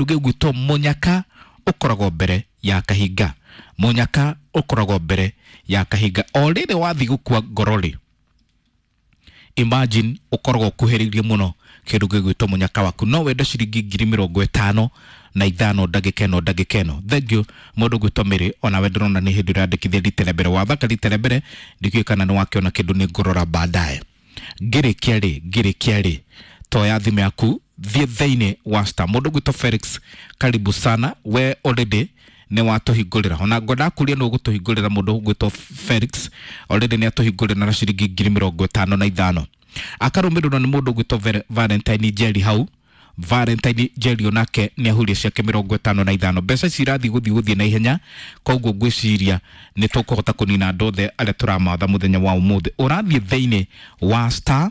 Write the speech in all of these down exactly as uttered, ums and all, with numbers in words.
Gĩgwĩtwo mũnyaka ũkoragwo mbere ya kahinga. Mũnyaka ũkoragwo mbere ya kahinga. O rĩrĩ wathiĩ gũkua ngoro rĩ, imagine ũkoragwo ũkuhĩrĩirie mũno kĩndũ gĩgwĩtwo mũnyaka waku. No wende ciringi ngiri mĩrongo ĩtano na ithano ndagĩka ĩno ndagĩka ĩno. Thank you mũndũ gwĩtwo Mary, onawe ndĩrona nĩ hĩndĩ ũrandĩkithia rita rĩa mbere. Wathaka rita rĩa mbere, ndikĩũĩ kana nĩ wakĩona kĩndũ, nĩ ngũrora baadaye. Ngĩrĩkia rĩ, ngĩrĩkia rĩ, toya thimũ yaku, thiĩ thĩinĩ wa star. Mũndũ gwĩtwo Felix, karibu sana, we already nĩ watũhingũrĩra, ona ngwendaga kũria nĩ ũgũtũhingũrĩra. Mũndũ gwĩtwo Felix already nĩ atũhingũrĩra na ciringi ngiri mĩrongo ĩtano na ithano, akarũmĩrĩrwo nĩ mũndũ gwĩtwo Valentine Njeri hau. Valentine Njeri onake nĩ ahuria ciake mĩrongo ĩtano na ithano. Mbeca ici irathiĩ gũthiĩ gũthiĩ na ihenya, koguo ngwĩciria nĩ tũkũhota kũnina andũ othe arĩa tũramatha mũthenya wa ũmũthĩ. Ũrathiĩ thĩinĩ wa star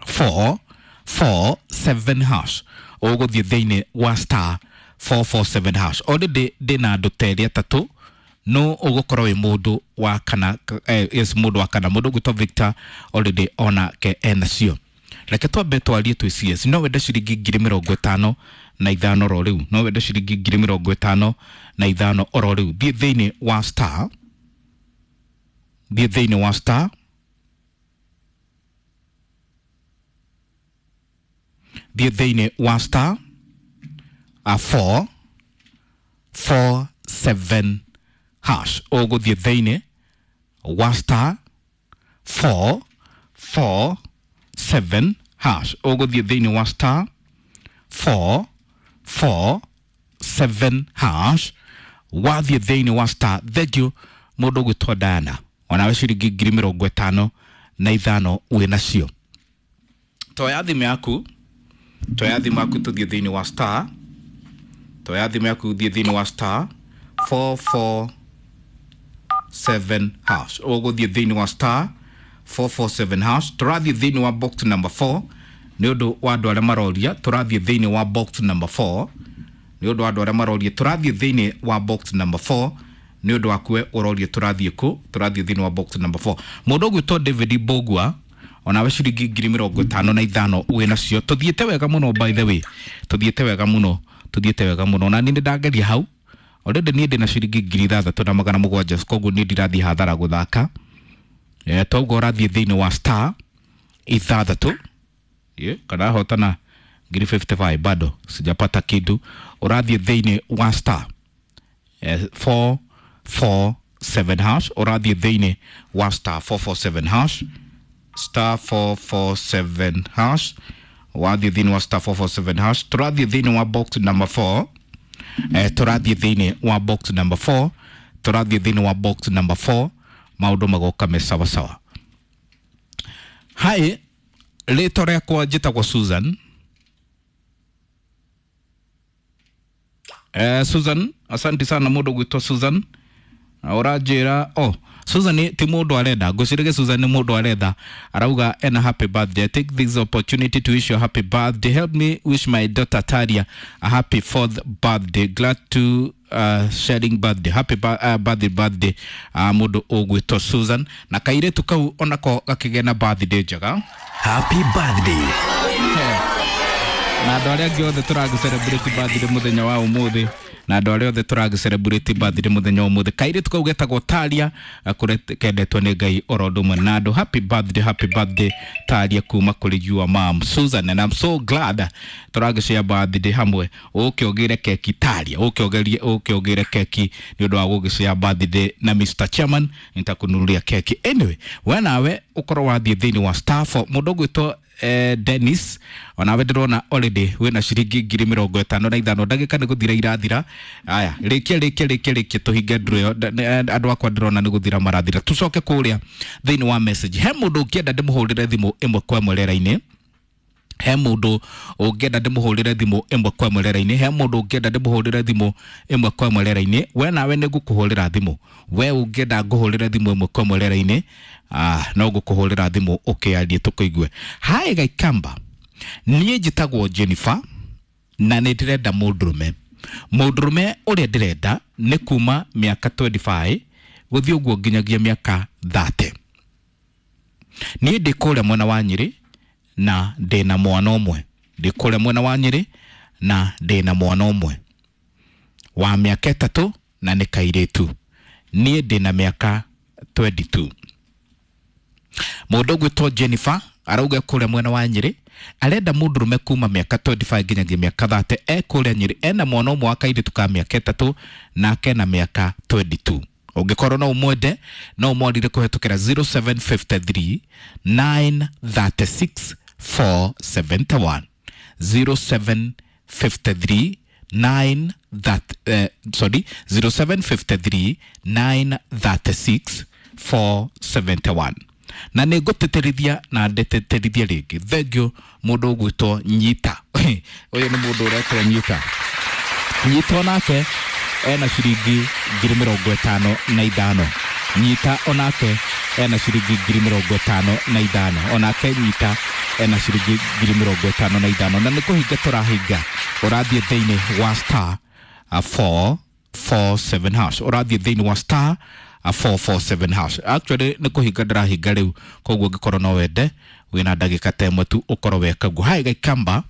four four seven hash, ũgũthiĩ thĩinĩ wa star four four seven hash. Already ndĩna andũ ta erĩ atatũ, no ũgũkorwo wĩ mũndũ wa kana. eh, yes, mũndũ wa kana, mũndũ ũgwĩtwo Victor already onake enacio. Reke twambe twarie twĩ C S. No wende ciringi ngiri mĩrongo ĩtano na ithano oro rĩu? No wende ciringi ngiri mĩrongo ĩtano na ithano oro rĩu? Thiĩ thĩinĩ wa star, thiĩ thĩinĩ wa star, thiĩ thĩinĩ wa star a four four seven hash. Ũgũthiĩ thĩinĩ wa star four four seven hash, ũgũthiĩ thĩinĩ wa star four four seven hash. Wathiĩ thĩinĩ wa star, thank you mũndũ ũgwĩtwo Diana, onawe ciringi ngiri mĩrongo ĩtano na ithano wĩ nacio. Toya thimũ yaku, toya thimũ yaku, tũthiĩ thĩinĩ wa star. Toya thimũ yaku, thiĩ thĩinĩ wa star four four seven hash. Ũgũthiĩ thĩinĩ wa star four four seven hash. Tũrathiĩ thĩinĩ wa box number four nĩ ũndũ wa andũ arĩa maroria. Tũrathiĩ thĩinĩ wa box number four nĩ ũndũ wa andũ arĩa maroria. Tũrathiĩ thĩinĩ wa box number four nĩ ũndũ waku we ũroria tũrathiĩ kũ. Tũrathiĩ thĩinĩ wa box number four. Mũndũ ũgwĩtwo David Mbũgua, onawe ciringi ngiri mĩrongo ĩtano na ithano wĩ nacio. Tũthiĩte wega mũno, by the way, tũthiĩte wega mũno, tũthiĩte wega mũno. Na niĩ nĩ ndageria hau already, niĩ ndĩna ciringi ngiri ithathatũ na magana mũgwanja, koguo niĩ ndirathiĩ hathara gũthaka. Eh, toguo ũrathiĩ thĩinĩ wa star ithathatũ, yeah, kana hotana ngiri fifty five, bado sijapata kitu. Ũrathiĩ thĩinĩ wa star eh, four four seven hash. Ũrathiĩ thĩinĩ wa star four four seven hash, star four four seven hash. Wathiĩ thĩinĩ wa star four four seven hash, tũrathiĩ thĩinĩ wa box number four. eh, tũrathiĩ thĩinĩ wa box number four, tũrathiĩ thĩinĩ wa box number four, maũndũ magoka me sawa sawa. Hi, rĩtwa rĩakwa njĩtagwo Susan. eh, Susan, asante sana mũndũ gwĩtwo Susan. Na ũranjĩra, oh, Susan ti mũndũ arenda ngwĩciragia Susan nĩ mũndũ aretha. Arauga ena happy birthday. "Take this opportunity to wish you a happy birthday. Help me wish my daughter Taria a happy fourth birthday. Glad to uh, sharing birthday. Happy ba uh, birthday birthday uh, Mũndũ ũgwĩtwo Susan na kairĩtu kau onako gakĩgĩa na birthday njega. Happy birthday. Na andũ arĩa angĩ othe tũragĩ celebrate birthday mũthenya wa ũmũthĩ, na andũ arĩa othe tũragĩ celebrate birthday mũthenya wa ũmũthĩ, kairĩtu kau getagwo Taria, kũrĩa kendetwo nĩ Ngai oro ũndũ ũmwe na andũ. Happy birthday, happy birthday Taria, kuma kũrĩ your mom Susan, and I'm so glad tũragĩ share birthday hamwe. Ũke ũgĩre keki Taria, ũke ũgerie, ũke ũgĩre keki nĩ ũndũ wa gũgĩ share birthday na Mister Chairman, nitakununulia keki. Anyway, we nawe ũkorwo wathiĩ thĩinĩ wa star four. Mũndũ ũgwĩtwo eh, Dennis, onawe ndĩrona already wĩna ciringi ngiri mĩrongo ĩtano na ithano. Ndagĩka nĩ gũthira irathira. Aya, rĩkia, rĩkia, rĩkia, rĩkia, tũhinge ndũrũ ĩyo. Nda- nĩ- andũ akwa ndĩrona nĩ gũthira marathira. Tũcoke kũrĩa thĩinĩ wa message. He mũndũ ũngĩenda ndĩmũhũrĩre thimũ ĩmwe kwa ĩmwe rĩera-inĩ? He mũndũ ũngĩenda ndĩmũhũrĩre thimũ ĩmwe kwa ĩmwe rĩera-inĩ? He mũndũ ũngĩenda ndĩmũhũrĩre thimũ ĩmwe kwa ĩmwe rĩera-inĩ? We nawe nĩ ngũkũhũrĩra thimũ. We ũngĩenda ngũhũrĩre thimũ ĩmwe kwa ĩmwe rĩera-inĩ, ah, no ngũkũhũrĩra thimũ ũkĩarie tũkũigue. Hi Gaikamba, niĩ njĩtagwo Jennifer na nĩ ndĩrenda mũndũrũme. Mũndũrũme ũrĩa ndĩrenda nĩ kuma mĩaka mĩrongo ĩrĩ na ithano gũthiĩ ũguo nginyagia mĩaka mĩrongo ĩtatũ. Niĩ ndĩ kũrĩa mwena wa Nyĩrĩ na ndĩna mwana ũmwe. Ndĩ kũrĩa mwena wa Nyĩrĩ na ndĩna mwana ũmwe wa mĩaka ĩtatũ na nĩ kairĩtu. Niĩ ndĩna mĩaka twenty-two. Mũndũ ũgwĩtwo Jennifer arauga kũrĩa mwena wa Nyĩrĩ arenda mũndũrũme kuma mĩaka twenty-five nginyagia mĩaka thirty, e kũrĩa Nyĩrĩ, ena mwana ũmwe wa kairĩtu ka mĩaka ĩtatũ nake na mĩaka twenty-two. Ũngĩkorwo no ũmwende no ũmwarire kũhetũkĩra zero seven five three nine three six four seven one, zero seven five three nine that, uh, sorry, zero seven five three nine three six four seven one. Na nĩ ngũtĩtĩrithia na ndĩtĩtĩrithie rĩngĩ, thengio mũndũ ũgwĩtwo Nyita. Ũyũ nĩ mũndũ ũretwo Nyita. Nyita onake ena ciringi ngiri mĩrongo ĩtano na ithano. Nyita onake ena ciringi ngiri mĩrongo ĩtano na ithano. Onake Nyita ena ciringi ngiri mĩrongo ĩtano na ithano. Na nĩ kũhinga tũrahinga. Ũrathiĩ thĩinĩ wa star four four seven hash. Ũrathiĩ thĩinĩ wa star four four seven hash. Actually nĩ kũhinga ndĩrahinga rĩu, koguo ũngĩkorwo no wende wĩna ndagĩka ta ĩmwe tu ũkorwo weka guo. Hai Gaikamba,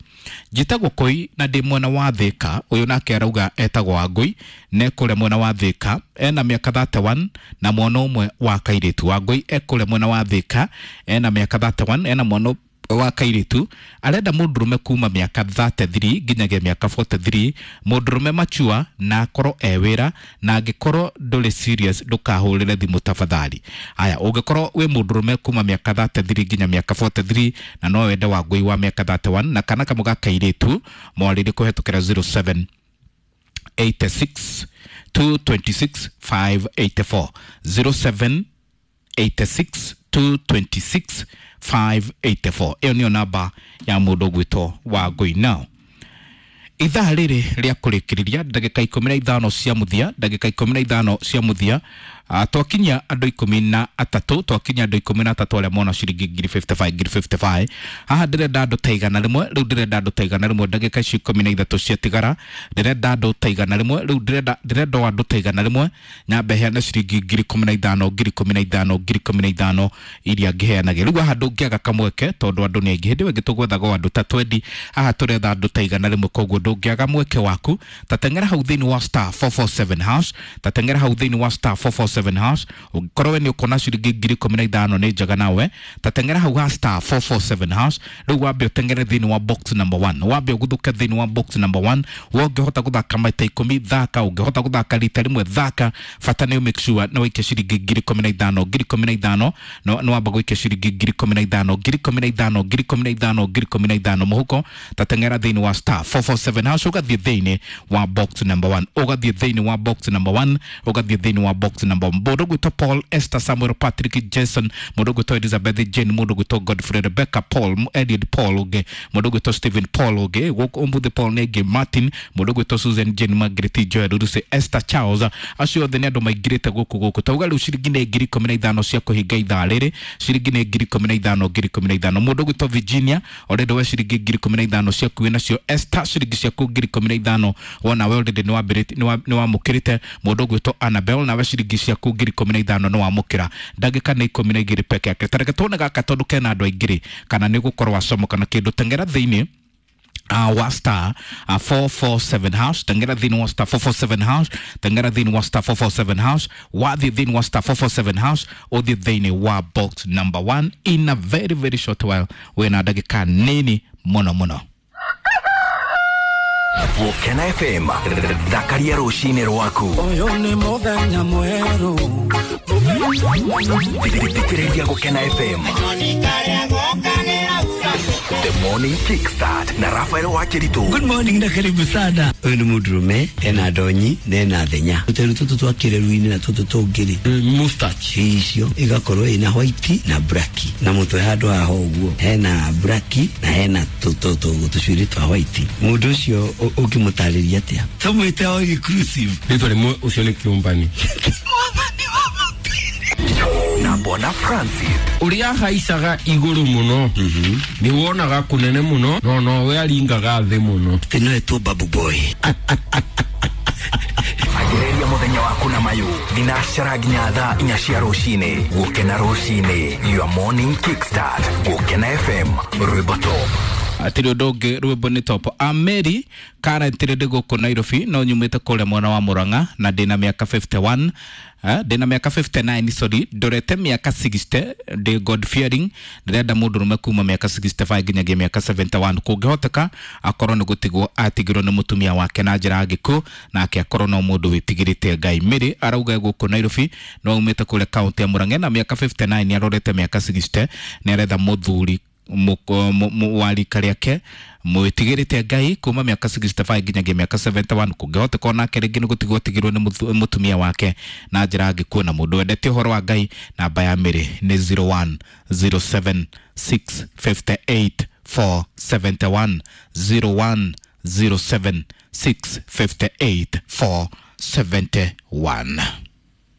njĩtagwo Koi na ndĩ mwena wa Thĩka. Ũyũ nake arauga etagwo Wangũi na ekũrĩa mwena wa Thĩka, ena mĩaka thirty-one na mwana ũmwe wa kairĩtu. Wangũi ekũrĩa mwena wa Thĩka, ena mĩaka thirty-one, ena mwana wa kairĩtu. Arenda mũndũrũme kuma mĩaka thirty-three nginyagia mĩaka forty-three, mũndũrũme machua na akorwo e wĩra, na angĩkorwo ndũrĩ serious ndũkahũrĩre thimũ tafadhali. Aya, ũngĩkorwo wĩ mũndũrũme kuma mĩaka thirty-three nginya mĩaka forty-three na no wende Wangũi wa mĩaka thirty-one na kana kamwe ga kairĩtu, mwarĩrie kũhetũkĩra zero seven eight six two two six five eight four, zero seven eight six two two six five eight four. Ĩyo nĩyo namba ya mũndũ ũgwĩtwo Wangũi. Now ithaa rĩrĩ rĩa kũrĩkĩrĩria ndagĩka ikũmi na ithano cia mũthia, ndagĩka ikũmi na ithano cia mũthia, twakinyia andũ ikũmi na atatũ, twakinyia andũ ikũmi na atatũ arĩa mona ciringi ngiri fifty-five, ngiri fifty-five. Haha ndĩrenda andũ ta igana rĩmwe, rĩu ndĩrenda andũ ta igana rĩmwe, ndagĩka ici ikũmi na ithatũ ciatigara, ndĩrenda andũ ta igana rĩmwe, rĩu ndĩrenda, ndĩrenda o andũ ta igana rĩmwe, nyambe heane ciringi ngiri ikũmi na ithano, ngiri ikũmi na ithano, ngiri ikũmi na ithano iria ngĩheanage. Rĩu haha ndũngĩaga kamweke tondũ andũ nĩ aingĩ, hĩndĩ ĩyo ĩngĩ tũgwethaga o andũ ta twenty, haha tũretha andũ ta igana rĩmwe, koguo ndũngĩaga mweke waku. Ta teng'era hau thĩinĩ wa star four four seven hash, ta teng'era hau thĩinĩ wa star four four seven hash. Ũngĩkorwo we nĩ ũkuona ciringi ngiri ikũmi na ithano nĩ njega nawe, ta teng'era hau ha star four four seven hash. Rĩu wambe ũteng'ere thĩinĩ wa box number one, wambe ũguthũke thĩinĩ wa box number one. We ũngĩhota gũthaka maita ikũmi thaka, ũngĩhota gũthaka rita rĩmwe thaka, bata nĩ make sure nĩ waikia ciringi ngiri ikũmi na ithano, ngiri ikũmi na ithano, nĩ wamba gũikia ciringi ngiri ikũmi na ithano, ngiri ikũmi na ithano, ngiri ikũmi na ithano, ngiri ikũmi na ithano mũhuko. Ta teng'era thĩinĩ wa star four four seven hash, ũgathiĩ thĩinĩ wa box number one, ũgathiĩ thĩinĩ wa box number one, ũgathiĩ thĩinĩ wa box number one. Mũndũ ũgwĩtwo Paul, Esther, Samuel, Patrick, Jason, mũndũ ũgwĩtwo Elizabeth, Jane, mũndũ ũgwĩtwo Godfrey, Rebecca, Paul, Edward Paul ũngĩ, mũndũ ũgwĩtwo Stephen Paul ũngĩ, gũkũ ũmũthĩ Paul nĩ aingĩ, Martin, mũndũ ũgwĩtwo Susan, Jane, Margaret, Joel, Lucy, Esther, Charles, acio othe nĩ andũ maingĩrĩte gũkũ gũkũ. Tauga rĩu ciringi nĩ ngiri ikũmi na ithano cia kũhinga ithaa rĩrĩ, ciringi nĩ ngiri ikũmi na ithano, ngiri ikũmi na ithano. Mũndũ ũgwĩtwo Virginia, already we ciringi ngiri ikũmi na ithano ciaku wĩ nacio. Esther, ciringi ciaku ngiri ikũmi na ithano wona we already nĩ wambĩrĩtie, nĩ wamũkĩrĩte. Mũndũ ũgwĩtwo Annabel, nawe ciringi ciaku ngiri ikũmi na ithano nĩ wamũkĩra. Ndagĩka nĩ ikũmi na igĩrĩ peke yake. Ta reke tuone gaka tondũ kena andũ aingĩ rĩ, kana nĩ gũkorwo wacomoka na kĩndũ. Teng'era thĩinĩ Uh, wa star uh, four four seven hash, teng'era thĩinĩ wa star four four seven hash, teng'era thĩinĩ wa star four four seven hash, wathiĩ thĩinĩ wa star four four seven hash, ũthiĩ thĩinĩ wa box number one in a very very short while, wĩna ndagĩka nini mũno mũno. Gũkena F M, thakaria rũcinĩ rwaku. Ũyũ nĩ mũthenya mwerũ. Thikĩrĩria Gũkena F M. The Morning Kickstart na Rafael Wakiritu. Good morning na karibu sana. Ũyũ nĩ mũndũrũme, ena ndonyi na ena thenya. Tũteru tũtũ twa kĩreru-inĩ na tũtũ tũngĩ-rĩ, mustache icio igakorwo ina white na black. Na mũtwe handũ haha ũguo hena black na hena tũcuĩrĩ twa white. Mũndũ ũcio ũngĩmũtarĩria atĩa? Tũmwĩte all inclusive. Rĩtwa rĩmwe ũcio nĩ kĩũmbani. Na Bwana Francis. Ũrĩa haicaga igũrũ mũno, nĩ wonaga kũnene mũno, no nowe aringaga thĩ mũno. Ĩno ĩtwo Babu Boy. Anjĩrĩria mũthenya waku na mayũ thinacara nginya thaa inya cia rũcinĩ. Gũkena rũcinĩ, your morning kickstart. Gũkena F M, rwĩmbo top. Atirĩ ũndũ ũngĩ, rwĩmbo nĩ top. Ameri currently ndĩ gũkũ Nairobi no nyumĩte kũrĩa mwena wa Murang'a na ndĩna mĩaka fifty-one, eh, ndĩna mĩaka fifty-nine, sorry, ndorete mĩaka sixty, ndĩ God fearing, ndĩrenda mũndũrũme kuma mĩaka sixty-five nginyagia mĩaka seventy-one, kũngĩhoteka akorwo nĩ gũtigwo atigirwo nĩ mũtumia wake na njĩra ya gĩkuũ, nake akorwo no mũndũ wĩtigĩrĩte Ngai. Mary arauga gũkũ Nairobi no aumĩte kũrĩa kaunti ya Murang'a na mĩaka fifty-nine, arorete mĩaka sixty, nĩ aretha mũthuri wa rika rĩake mwĩtigĩrĩte Ngai kuma mĩaka sixty-five nginyagia mĩaka seventy-one, kũngĩhoteka onake rĩngĩ nĩ gũtigwo atigirwo nĩ mũtumia wake na njĩra ya gĩkuũ, na mũndũ wendete ũhoro wa Ngai. Namba ya Mary nĩ zero one zero seven six five eight four seven one, zero one zero seven six five eight four seven one.